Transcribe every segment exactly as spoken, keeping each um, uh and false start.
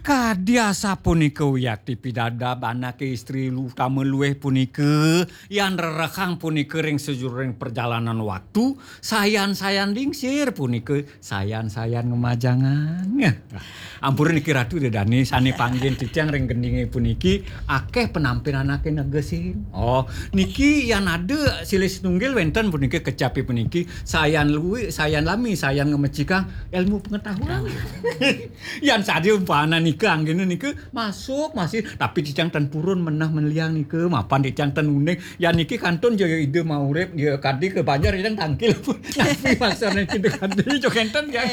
Kadi asapunika wiakti pidabdab anake istri lu-, utama luih punika, yan rerehang punika ring sajeroning perjalanan waktu, sayan-sayan lingsir punika, sayan-sayan ngemajangan. Ampura niki Ratu Ida Dane sane panggihin titiang ring gendinge puniki, akeh penampin anake negesin. Oh, niki yan ada silih sinunggil wenten punika kecape puniki, sayan luih, sayan lami, sayan ngemecikang ilmu pengetahuan. Yan saja umpama nika anggena nika masuk masih, tapi titiang tan purun menah meliang nika, mapan titiang tan uning. Yan niki kantun ja ida maurip, ya kadi ke banjar yang tangkil pun. Tapi maksudnya kita kadi jo kenten ya.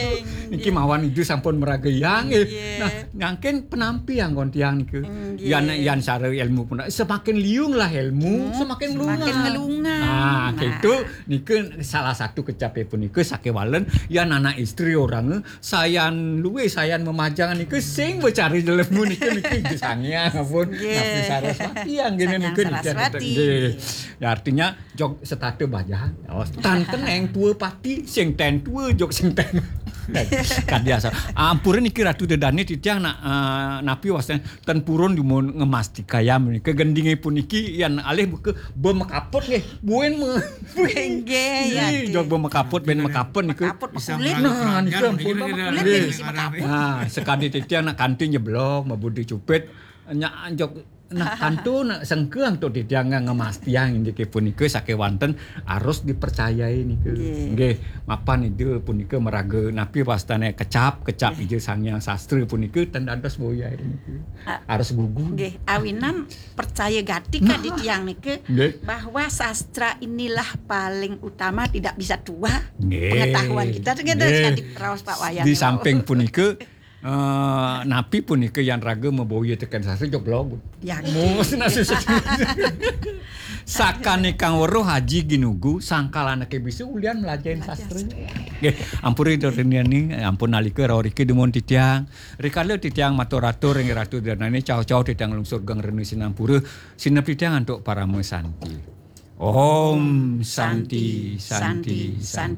Niki mawan ida sampun meraga yang, eh. Nah, nyangkin penampi anggon tiang nika. Yan, yan sara ilmu pun semakin liung lah ilmu, semakin melunga. Semakin melunga. Nah, nah, itu nika salah satu kecape punika sakewalen yan anak istri orang sayan luih, sayan memajangan nika sing becari jelema nika, niki Ida Sang Hyang pun. Nggih. Napi Saraswati anggena nika nika. Saraswati. Nggih. Ya, artinya jog setata bajan. Oh, tan keneng tua pati, sing ten tua jog sing ten. Kadi asal. Ampura niki Ratu Ida Dane titiang nak, eh, napi wasten tan purun dumun ngemastikayam nika gendinge puniki yan alih buka bemekaput nggih. Buin me. Nggih, ya. Nggih, jog bemekaput, ben mekaput nika. Mekaput pekulit. Nah, nika ampun. Pekulit nggih. Nah, sekadi titiang nak kanti nyeblok, mabudi cupit, nya jog nah kanto nak sengkang tu titiang ngemastiang indike punika sakewanten harus dipercayai nika. Nggih. Nggih, mapan ida punika meraga napi wastane kecap, kecap ija Sang Hyang Sastra punika ten dados boyai nika. Harus gugu. Nggih, awinan percaya gati kadi tiang nika, nggih, bahwa sastra inilah paling utama, tidak bisa tua. Nggih. Pengetahuan kita, nggih, nggih, kadi raos Pak Wayan. Di samping punika, eh, napi punika yan raga maboya teken sastra jog log. Ya, mus nasi. Sakane kang weruh Haji Ginugu, sangkal anake bisa ulian melajahin sastra. Nggih, ampura Ida Reniani, ampun nalika rauh riki dumun titiang. Rikala titiang matur-atur ring Ratu Ida Dane, cau-cau titiang lungsur geng rena sinampura, sinep titiang antuk parama santi. Om Santi, Santi, Santi.